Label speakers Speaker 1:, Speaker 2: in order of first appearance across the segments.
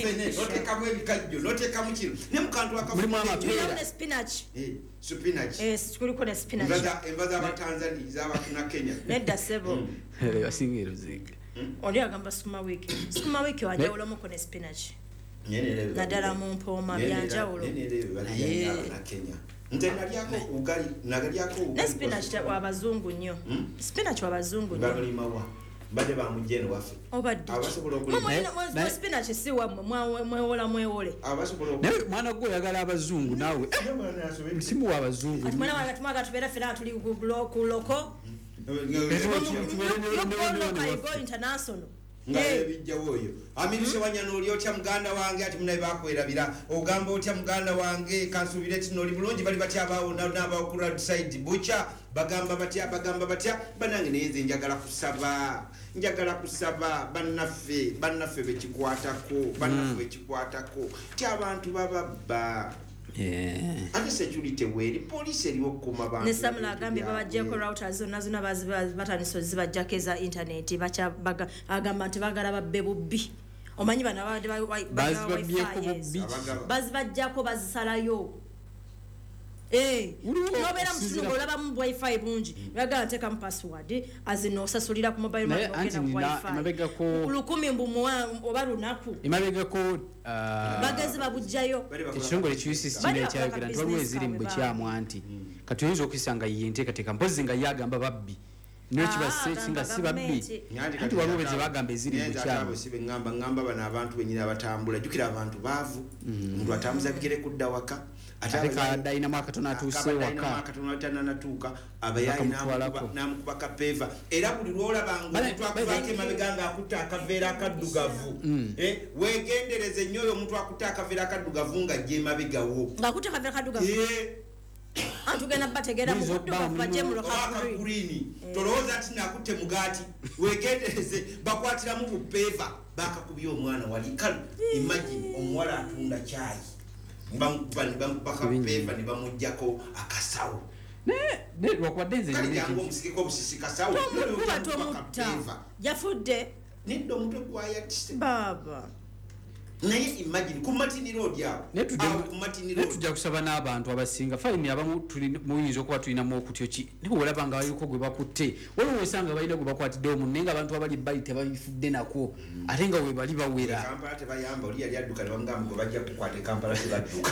Speaker 1: Fene notekamu ebikajjo, notekamu kino ne mukantu.
Speaker 2: Mulimu amapeera.
Speaker 3: Tulinamu ne spinach.
Speaker 1: Spinach.
Speaker 3: Eh, kuliko ne spinach.
Speaker 1: Enva z'abatanzania, z'abakina Kenya.
Speaker 3: Nedda sebo.
Speaker 2: Basinga eruzinga.
Speaker 3: Oli agamba sukuma wiiki, sukuma wiiki wanjawulomuko ne spinach, naddala mu mpooma, byanjawulo.
Speaker 1: Kenya nze nalyako ugali, nagalyako.
Speaker 3: Ne spinach wabazungu nnyo. Spinach wabazungu nnyo.
Speaker 1: Bamulimawa? Mbadde bamujja eno waffe.
Speaker 3: Obadde
Speaker 1: Abasobola okulima.
Speaker 3: Spinach si wammwe, mwewola mwewole.
Speaker 1: Abasobola.
Speaker 2: Naye mwana gwe oyagala abazungu naawe. Musimu wa abazungu.
Speaker 3: Kati mwana wange tumwaga tubeera ffena tuli ku local. You go international.
Speaker 1: Nga ebijjawo oyo amirise wanyana. Oli otya muganda wange? Ati munaye bakwerabira, ogamba otya muganda wange? Kansuubire tino oli bulungi. Bali batya abaawo n'abawo ku roadside butcher? Bagamba batya? Bagamba batya banange? Naye nze njagala kusaba, njagala kusaba bannaffe, bannaffe bekikwatako, bannaffe bekikwatako ti abantu bababba. Ate security weeri, poliisi eriwo okukuuma bantu.
Speaker 3: Ne Samula agambye babajjako routers zonna zonna, batandise ozibajjako eza internet. Agamba nti bagala babbe bubbi. Omanyi bano abadde bagaba
Speaker 2: Bazibabbyeko
Speaker 3: Wi-Fi ezo.
Speaker 2: bubbi.
Speaker 1: Abagaba.
Speaker 3: Bazibajjako, bazisalayo. Eh,
Speaker 2: Waliwo
Speaker 3: nobeera mu kitundu ng'olabamu wifi bungi, bagala nteekamu password azino, osasulira ku mobile
Speaker 2: Naye
Speaker 3: money,
Speaker 2: anti
Speaker 3: ogenda ku
Speaker 2: nina
Speaker 3: wifi.
Speaker 2: Emabegako
Speaker 3: 1000 mbu oba lunaku.
Speaker 2: Emabegako
Speaker 3: Bagezi babugjayo.
Speaker 2: Ekitongole ki UCC
Speaker 3: Bali
Speaker 2: kino
Speaker 3: bakola
Speaker 2: ekyayogera nti waliwo
Speaker 3: business
Speaker 2: eziri mu
Speaker 3: kaabwe.
Speaker 2: bukyamu, anti kati oyinza okuyisa nga ye enteekateeka, mpozi nga ye agamba babbi, naye
Speaker 3: Ah,
Speaker 2: kibase
Speaker 3: agamba
Speaker 2: nga si babbi.
Speaker 3: gavumenti.
Speaker 2: Anti waliwo be bagamba eziri mu bukyamu.
Speaker 1: Si beŋŋamba, ŋŋamba bano abantu bennyini abatambula. Jjukira abantu baavu, omuntu atambuza bigere kudda waka.
Speaker 2: Ate kabadde alinamu akatono atuuse waka.
Speaker 1: Akatono tananatuuka, abayaayi
Speaker 2: Bakamutwalako.
Speaker 1: n'amukuba kapeeva. Era buli lwolabanga omuntu akuvaako emabega ng'akutte akaveera akaddugavu, weegendereze nnyo oyo omuntu akutte akaveera akaddugavu ng'ajja emabegawo.
Speaker 3: Ng'akutte kaveera kaddugavu, antugenda bategeera mu
Speaker 2: Muyinza okuba
Speaker 3: buddugavu bajje mu
Speaker 1: oba
Speaker 3: lukagri.
Speaker 1: Akagurini, tolowooza nti nakutte mugaati. Wegendereze, bakwatiramu bupeeva. Bakakubye omwana wali. Kale imagine omuwala atunda kyayi, bamukuba kapeeva ne bamugjako akasawo.
Speaker 2: Naye lwakubadde nze
Speaker 1: Kale
Speaker 2: nina
Speaker 1: jangu
Speaker 2: ekintu
Speaker 1: omusigeko obusisi kasawo.
Speaker 3: Tomukuba, tomutta, yafudde.
Speaker 1: Nedda, omutwe gwayatise.
Speaker 3: Baaba.
Speaker 1: Naye imagine ku Martin Road awo.
Speaker 2: Naye
Speaker 1: Awo ku Martin
Speaker 2: naye
Speaker 1: Road.
Speaker 2: Tujja kusaba n'abantu abasinga fayini abamu muyinza okuba tulinamu okutyo ki, naye olaba nga baliko gwe bakutte, waliwo osanga balina gwe bakwatiddewo munne nga abantu abali bali tebabifudde nako, ate nga we bali bawera.
Speaker 1: Kampala tebayamba. Oli yali adduka ne bamugamba gwe bajja kukwata e Kampala tebadduka.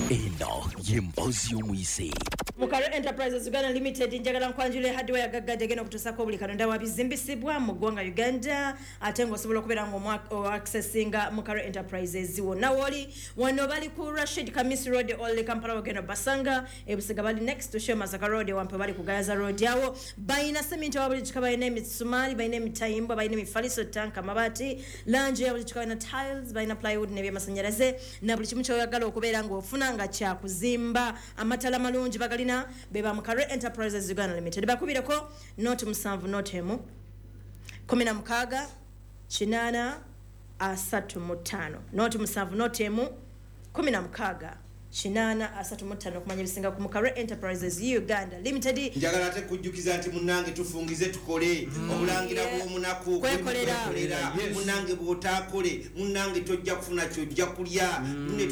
Speaker 4: Eno ye Mboozi y'Omuyise.
Speaker 3: Mukalo Enterprises Uganda Limited, njagala nkwanjula hardware gaggadde egenda okutuusako buli kalonda wa bizimbisibwa mu ggwanga Uganda, ate ng'osobola okubeera nga oaccessinga Mukalo Enterprises wonna woli. Wano bali ku Rashid Kamis Road, Old Kampala, wagenda basanga. Ebusiga bali next to Shell Masaka Road. Wampe bali ku Gayaza Road. Awo balina seminti wa buli kika, balina emisumaali, balina emitayimbwa, balina emifaliso, tanka, amabaati, langi ya buli kika, balina tiles, balina plywood n'ebyamasanyalaze na buli kimu kyoyagala okubeera ng'ofuna nga kyakuzimba. Amatala malungi bagalina be ba Mukare Enterprises Uganda Limited. Bakubireko 070 01 16 835, 070 01 16 85, okumanya ebisinga ku Mukare Enterprises Uganda Limited.
Speaker 1: Njagala ate kujjukiza nti munnange tufungize tukole obulangira bw'omunaku.
Speaker 3: Kwekolera.
Speaker 1: Kwekolera. Munnange bw'otaakole, munnange tojja kufuna kyojja kulya. Munne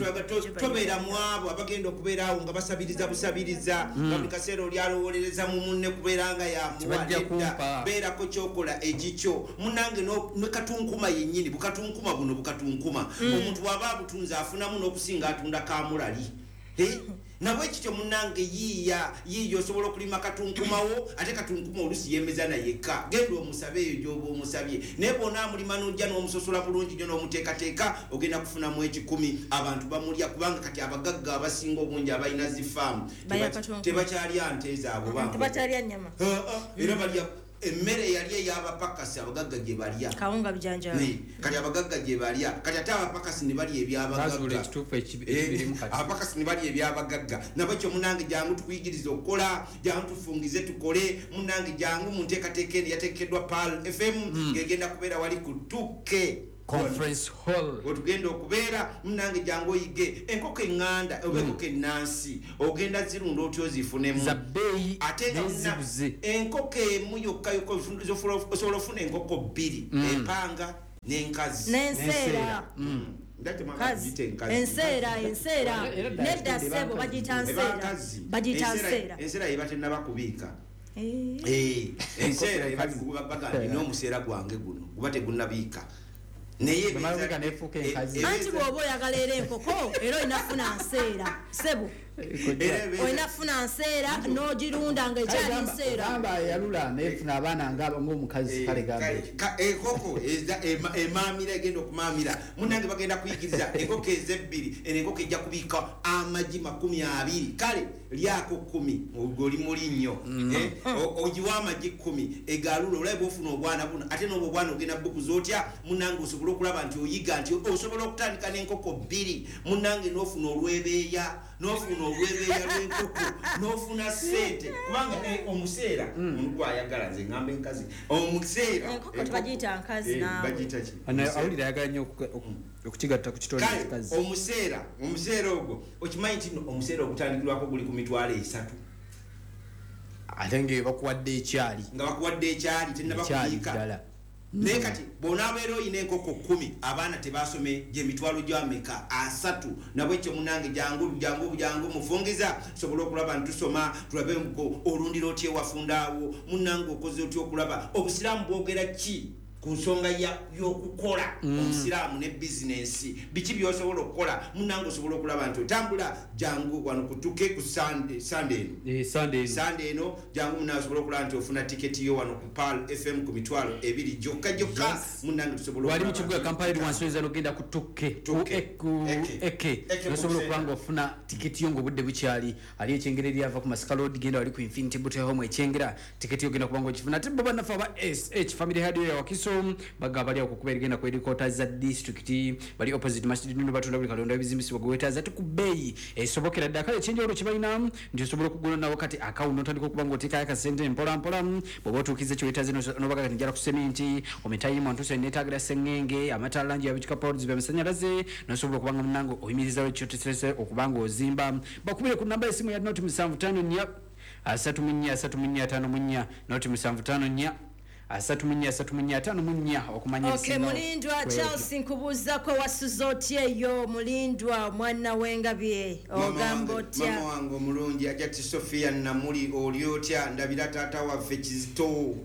Speaker 1: tobeera mu abo abagenda okubeera awo nga basabiriza busabiriza, nga buli kaseera oli alowolereza mu munne kubeera nga yamuwa.
Speaker 2: Tebajja
Speaker 1: Nedda,
Speaker 2: kumpa.
Speaker 1: beerako kyokola ekikyo munnange. Ne katunkuma yennyini, bukatunkuma buno, bukatunkuma omuntu bw'aba abutunze afunamu n'okusinga atunda kamulali. Eh? Nabwe kityo munnange, yiiya yiiya, osobola okulima katunkumawo. Ate katunkuma olusi yemeza nayekka, genda omusabe eyo gyoba omusabye, naye bw'onaamulima n'ojja n'omusosola bulungi nnyo n'omuteekateeka, ogenda kufunamu 1,000. Abantu bamulya kubanga kati abagagga abasinga obungi abalina zifaamu
Speaker 3: Balya katunkuma.
Speaker 1: tebakyalya nte zaabwe banko.
Speaker 3: Tebakyalya nnyama.
Speaker 1: Era balya emmere eyali ey'abapakasi, abagagga gye balya.
Speaker 3: Kawunga, bijanjaalo.
Speaker 1: Kati abagagga gye balya, kati ate abapakasi ne balya
Speaker 2: Bazuula
Speaker 1: ebyabagagga.
Speaker 2: ekituufu ekibirimu kati.
Speaker 1: Abapakasi ne balya ebyabagagga. Nabwekyo munange jangu tukuyigiriza okukola, jangu tufungize tukole. Munange jangu mu nteekateeka eno yateekeddwa Pearl FM, ng'egenda kubeera wali ku 2K
Speaker 2: Conference Hall.
Speaker 1: wetugenda okubeera. Munange jangu oyige enkoko eŋŋanda oba enkoko ennansi, ogenda zirunda otya ozifunemu
Speaker 2: Za bbeeyi
Speaker 1: ate nga
Speaker 2: nezibuze.
Speaker 1: enkoko emu yokka yokka osobola ofuna enkoko bbiri empanga. N'enkazi.
Speaker 3: N'enseera. Enseera, enseera. Nedda ssebo, bagiyita nseera. Bagiyita nseera.
Speaker 1: Enseera eba tennaba kubiika. Enseera eba bagamba n'omuseera gwange guno guba tegunnabiika. Naye
Speaker 3: anti bw'oba oyagala era enkoko era olina kufuna nseera ssebo. Olina kufuna nseera n'ogirunda nga ekyali nseera.
Speaker 2: Gamba yalula nefuna abaana ng'omukazi kale gamba
Speaker 1: enkoko emaamira egenda okumaamira. Munnange bagenda kuyigiriza enkoko ezebbiri, eno enkoko ejja kubiika amagi 20, kale lyako 10 oli muli nnyo, ogiwa amagi 10 egalula olabe bw'ofuna obwana buno, ate n'obwo obwana ogenda bukuza otya. Munnange osobola okulaba nti oyiga nti osobola okutandika n'enkoko 2, munnange n'ofuna olwebeeya, n'ofuna olwebeeya lw'enkoko, n'ofuna ssente, kubanga omuseera gwayagala nze ngamba enkazi omuseera
Speaker 3: enkoko tebagiyita nkazi naawe.
Speaker 1: Bagiyita ki?
Speaker 2: Awulira ayagala nnyo okukigatta ku kitone ekikazi.
Speaker 1: Omuseera, omuseera ogwo okimanyi nti omuseera ogutandikirwako guli ku 300,000,
Speaker 2: ate nga bakuwadde ekyali,
Speaker 1: nga bakuwadde ekyali tennaba kubiika. Naye kati bw'onaabeera oyina enkoko 10, abaana tebasome gy'emitwalo gy'ameka 3. Nabwekyo munnange jangu jangu jangu mufungiza tusobole okulaba nti tusoma, tulabe olundira otya ewafunda awo. Munnange okoze otya okulaba obusiraamu bwogera ki ku nsonga y'okukola omusiraamu ne bizinensi, biki by'osobola okukola. Munnange osobola okulaba nti otambula jangu wano kutuke ku Sunday eno, Sunday eno jangu munnange osobola okulaba nti ofuna tiketi yo wano ku Pearl FM ku 20,000 gyokka gyokka. Munnange tusobola
Speaker 2: wali mu kibuga Kampala eri wansi oyinza n'ogenda ku Tukke ku Eke, osobola okuba nga ofuna tiketi yo ng'obudde bukyali. Ali ekyengera eryava ku Masaka Road, genda wali ku Infinity Boutique Home ekyengera, tiketi yo ogenda kuba nga ogifuna. Ate bo bannaffe aba SH Family Hardware Wakiso bagamba bali awo kukuba erigenda ku headquarters za district, bali opposite Masjid Nunu, batunda buli kalonda ebizimbisibwa gwe weetaaza ate ku bbeeyi esobokera ddala. Kale ekyenjawulo kye balina nti osobola okugula nawo kati akawunti n'otandika okuba ng'oteekayo akasente mpola mpola, bw'oba otuukiza kye weetaaze n'obaga kati njala ku seminti, omitayimu ntuuse neetaagira sengenge, amataala langi ya bikika poles by'amasannyalaze, n'osobola okuba nga munnange oyimirizawo ekyoteserese okuba ng'ozimba. Bakubire ku namba y'essimu ya noti 754 34 34 54, noti 754 34 34 54 okumanya
Speaker 3: ebisingawo. Mulindwa Charles nkubuuzako wasuze otya eyo Mulindwa omwana w'engabye ogamba otya?
Speaker 1: Mama wange omulungi Ajati Sophia Namuli oli otya? Ndabira taata waffe Kizito.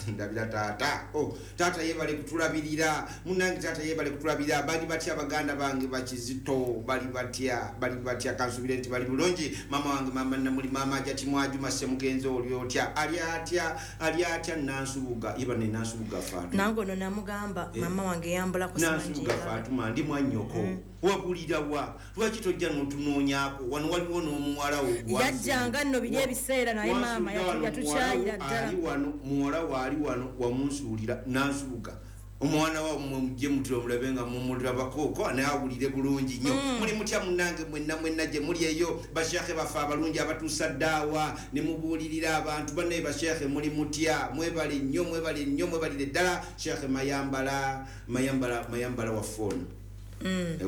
Speaker 1: Ndabira taata. Taata yeebale kutulabirira. Munnange taata yeebale kutulabirira. Bali batya baganda bange bakizito? Bali batya? Bali batya? Kansubire nti bali bulungi. Mama wange mama Namuli, mama Ajati Mwajuma Ssemugenzi oli otya? Ali atya? Ali atya Nansubuga? Yeba ne Nansubuga Fatuma.
Speaker 3: Nange ono namugamba mama wange yambulako
Speaker 1: Nansubuga Fatuma ndi mwannyoko. Wabulira wa? Lwaki tojja n'otunoonyaako? Wano waliwo n'omuwala wo.
Speaker 3: Yajjanga nno biri ebiseera naye maama yatukyayira ddala.
Speaker 1: Ali wano muwala waali wano wamunsuulira Nansubuga. Omwana wa mujje mutule omulabe nga mumulabako naye awulire bulungi nnyo. Muli mutya munnange mwenna mwenna gye muli eyo, basheekhe baffe abalungi abatuusa ddaawa ne mubuulirira abantu bannaye. Basheekhe muli mutya? Mwebale nnyo, mwebale nnyo, mwebalire ddala. Sheekhe Mayambala, Mayambala, Mayambala waffe ono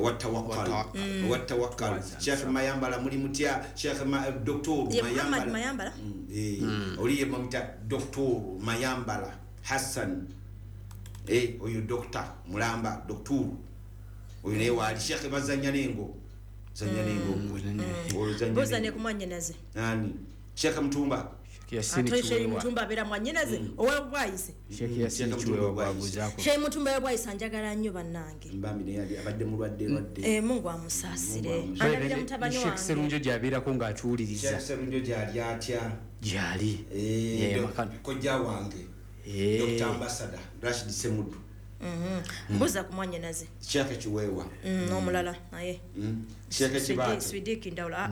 Speaker 1: Wattawakkal. Sheekhe Mayambala muli mutya? Sheekhe Doctor Mayambala, oli ye bamuyita Doctor Mayambala Hassan. Oyo Doctor Mulamba, Doctor oyo naye waali. Sheekhe bazanya n'engo, zanya n'engo,
Speaker 3: buuza ne ku mwannyinaze.
Speaker 1: Ani? Sheekhe Mutumba.
Speaker 3: Ate Mutumba abeera mwannyinaze ow'obwayise. Sheikh Mutumba ow'obwayise anjagala nnyo bannange.
Speaker 1: Mbambi naye ali abadde mulwadde lwadde.
Speaker 3: Mungu amusaasire. Andabira mutabani wange.
Speaker 2: Sheikh Serunjo gy'abeerako ng'atuwuliriza.
Speaker 1: Sheikh Serunjo gy'ali atya?
Speaker 2: Gy'ali.
Speaker 1: Kojja wange. Dr. Ambassador Rashid Semudu.
Speaker 3: Mbuza ku mwannyinaze.
Speaker 1: Sheikh Kiweewa.
Speaker 3: N'omulala naye.
Speaker 1: Sheikh Kibaate.
Speaker 3: Swidiki Ndawula.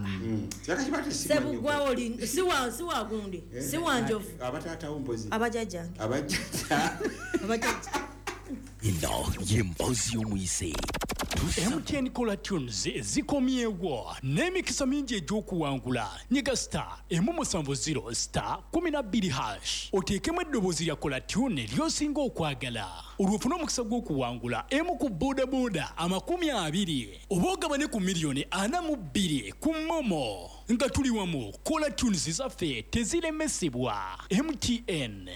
Speaker 1: Sheikh Kibaate si mwannyoko.
Speaker 3: Sebugwawo oli si wa gundi. Si wa njovu.
Speaker 1: Abataatawo mpozi.
Speaker 3: Abajjajjange.
Speaker 1: Abajjajja.
Speaker 3: Abajjajja.
Speaker 4: Eno y'emboozi y'omuyise.
Speaker 5: MTN Caller Tunes zikomyewo n'emikisa mingi egy'okuwangula. Nyiga star 170 star 12 hash, oteekemu eddoboozi lya Caller Tune ly'osinga okwagala, olwo ofune omukisa gw'okuwangula emu ku boodabooda 20 oba ogabane ku 42 miliyoni ku MoMo. Nga tuli wamu, Caller Tunes zaffe teziremesebwa. MTN.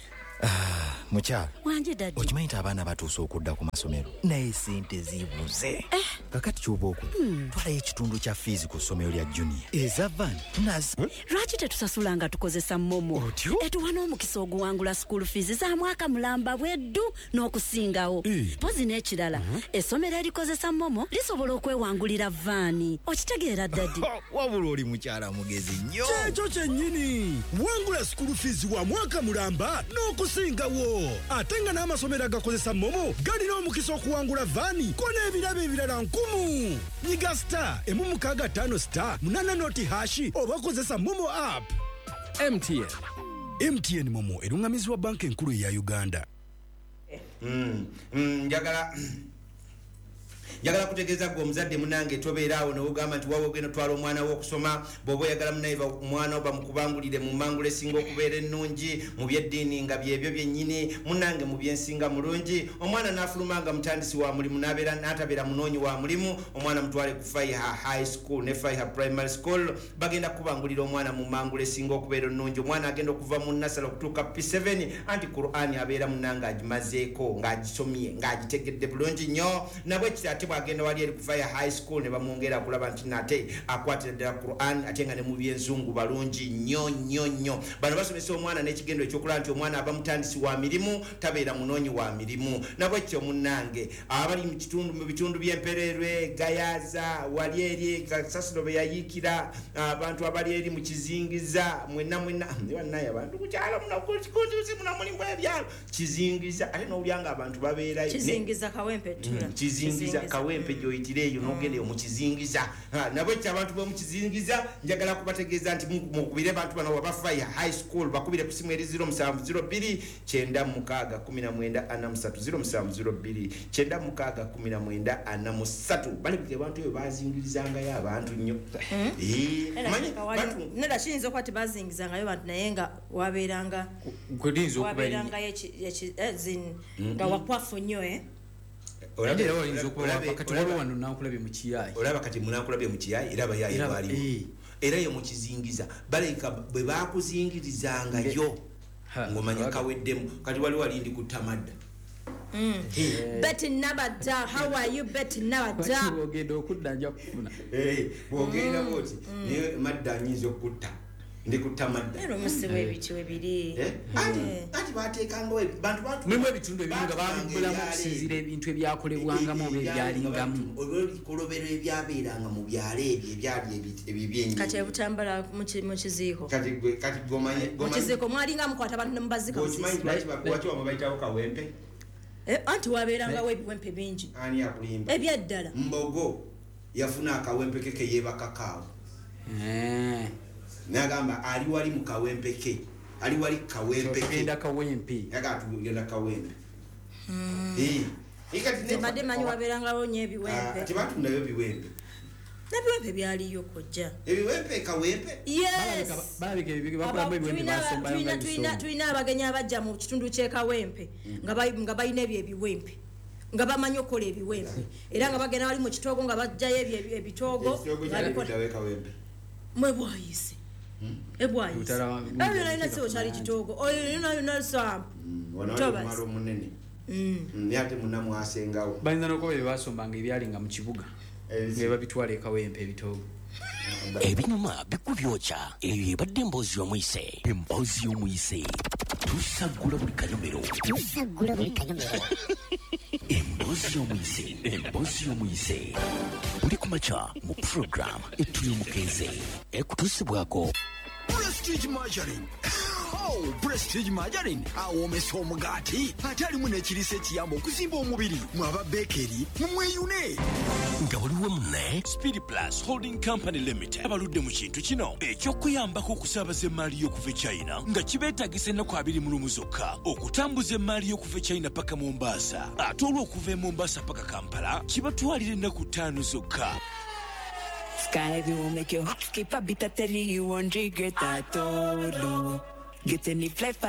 Speaker 6: Mukyala
Speaker 7: Wanje daddy.
Speaker 6: Okimanyi nti abaana batuuse okudda ku masomero, naye sente zibuze. Kakati kyoba okola, twalayo ekitundu kya fees ku ssomero lya Junior, eza van tunazi.
Speaker 7: Lwaki tetusasula nga tukozesa MoMo?
Speaker 6: Otyo?
Speaker 7: Etuwa n'omukisa oguwangula school fees za mwaka mulamba bweddu n'okusingawo. Mpozi n'ekirala, essomero erikozesa MoMo lisobola okwewangulira van. Okitegeera, daddy?
Speaker 6: Wabula oli mukyala mugezi nnyo.
Speaker 8: Kyekyo kyennyini. Wangula school fees wa mwaka mulamba n'okusingawo, ate nga n'amasomero agakozesa MoMo galina omukisa okuwangula van ko n'ebirabo ebirala nkumu. Nyiga *165*80# oba kozesa MoMo app.
Speaker 9: MTN.
Speaker 8: MTN MoMo erungamizibwa Banka Enkulu eya Uganda.
Speaker 1: Njagala kutegeeza gwe omuzadde munange, tobeeraawo newogamba nti wawe ogenda otwala omwana wo okusoma. Bw'oba oyagala munaye omwana wo bamukubangulire mu mangula esinga okubeera ennungi mu byeddiini, nga byebyo byennyini munange mu byensinga mulungi, omwana n'afuluma nga mutandisi wa mulimu, n'abeera n'atabeera munoonyi wa mulimu, omwana mutwale ku Faiha High School ne Faiha Primary School. Bagenda kukubangulira omwana mu mangula esinga okubeera ennungi. Omwana agenda okuva mu nursery okutuuka P7, anti Qur'ani abeera munange agimazeeko, ng'agisomye, ng'agitegedde bulungi nnyo. Nabwekiti ate bwagenda wali eri ku Faiha High School ne bamwongera okulaba nti nate akwatira ddala Quran, ate nga ne mu byenzungu balungi nnyo nnyo nnyo. Bano basomesa omwana n'ekigendo ekyokulaba nti omwana aba mutandisi wa mirimu, tabeera munoonyi wa mirimu. Nabwekityo munnange abali mu kitundu, mu bitundu by'Empererwe, Gayaza, wali eri kasasiro be yayiikira, abantu abali eri mu Kizingiza, mwenna mwenna bannaye, abantu ku kyalo muno kutuusi muno mulimu ebyalo Kizingiza, ate n'owulya nga abantu babeerayo.
Speaker 3: Kizingiza, Kawempe ttula.
Speaker 1: Kizingiza, Kawempe gyoyitira eyo n'ogenda eyo mu Kizingiza. Nabwekyo abantu b'omu Kizingiza, njagala kubategeeza nti mukubire bantu bano aba Faiha High School, bakubire ku simu eri 0702 96 19 43, 0702 96 19 43. Balabika abantu eyo bazingirizangayo abantu nnyo. Manyi
Speaker 3: Neda kiyinza okuba tebazingizangayo bantu, naye nga wabeeranga
Speaker 2: Kuyinza okuba
Speaker 3: wabeerangayo nga wakwafu nnyo, eh?
Speaker 2: Era wayinza okuba kati waliwo wano nankulabye mu Kiyayi.
Speaker 1: Olaba kati munankulabye mu Kiyayi, era abayaayi baaliwo. Era yo mu Kizingiza balabika bwe bakuzingirizangayo ng'omanya kaweddemu. Kati wali wali ndi kutamadda.
Speaker 3: Betty Nabadda, how are you, Betty Nabadda?
Speaker 2: Ogenda okudda nja kufuna.
Speaker 1: Bw'ogenda bw'oti naye madda nyinza okutta, ndi kutamadda.
Speaker 3: Era omusi w'ebiti webiri.
Speaker 1: Anti bateekangawo bantu batu
Speaker 2: Mulimu ebitundu ebimu nga babibulamu okusinziira ebintu ebyakolebwangamu oba ebyalingamu.
Speaker 1: Olw'ebikolobero ebyabeeranga mu byalo ebyo ebyali ebibyenyi.
Speaker 3: Kati ebutambala mu kiziiko.
Speaker 1: Kati gwe, kati gomanye
Speaker 3: Mu kiziiko mwalinga mukwata abantu ne mubazika.
Speaker 1: Okimanyi lwaki wamwe bayitawo Kawempe?
Speaker 3: Anti wabeerangawo ebiwempe bingi.
Speaker 1: Ani akulimba?
Speaker 3: Ebyaddala.
Speaker 1: Mbogo yafuna akawempe ke keyeebakakaawo. Nagamba ali wali mu Kawempe ke, ali wali Kawempe ke.
Speaker 2: Tugenda Kawempe.
Speaker 1: Yaga tugenda Kawempe. Kati
Speaker 3: Tebadde manyi wabeerangawo nnyo ebiwempe.
Speaker 1: Tebatundayo biwempe.
Speaker 3: N'ebiwempe byaliyo kojja.
Speaker 1: Ebiwempe Kawempe?
Speaker 3: Yes.
Speaker 2: Balabika bakolamu ebiwempe basombayo nga ebisongo.
Speaker 3: Tulina abagenyi abajja mu kitundu ky'e Kawempe nga balina ebyo ebiwempe, nga bamanyi okukola ebiwempe, era nga bagenda bali mu kitoogo nga bajjayo ebyo ebitoogo.
Speaker 1: Ekitoogo kyali kuddawo e Kawempe.
Speaker 3: Mwe bwayise. Ebwayise. Ebyo nalina siwo kyali kitoogo. Oyo yonna sampu.
Speaker 1: Wano wali omwalo omunene. Naye ate munna mwasengawo.
Speaker 2: Bayinza n'okuba bye basombanga ebyalinga mu kibuga. Nga babitwala e Kawempe ebitoogo.
Speaker 4: Ebinyuma bikubyokya. Eyo ebadde emboozi y'omuyise. Emboozi y'omuyise. Tusaggula buli kanyomero.
Speaker 10: Tusaggula buli kanyomero.
Speaker 4: Emboozi y'omuyise. Emboozi y'omuyise. Buli ku makya mu program Etulyomukeeze. Ekutuusibwako
Speaker 8: Prestige Margarine. Oh, Prestige Margarine awoomesa omugaati, ate alimu n'ekiriisa ekiyamba okuzimba omubiri. Mwaba bakery mumweyune.
Speaker 4: Nga waliwo munne
Speaker 5: Speed Plus Holding Company Limited abaludde mu kintu kino eky'okuyambako okusaabaza emaali y'okuva e China, nga kibeetagisa ennaku 21 zokka okutambuza emaali y'okuva e China paka Mombasa, ate olw'okuva e Mombasa paka Kampala kibatwalira ennaku 5 zokka.
Speaker 11: Sky will make your heart skip a beat. I tell you, you won't regret at all. Get any flight.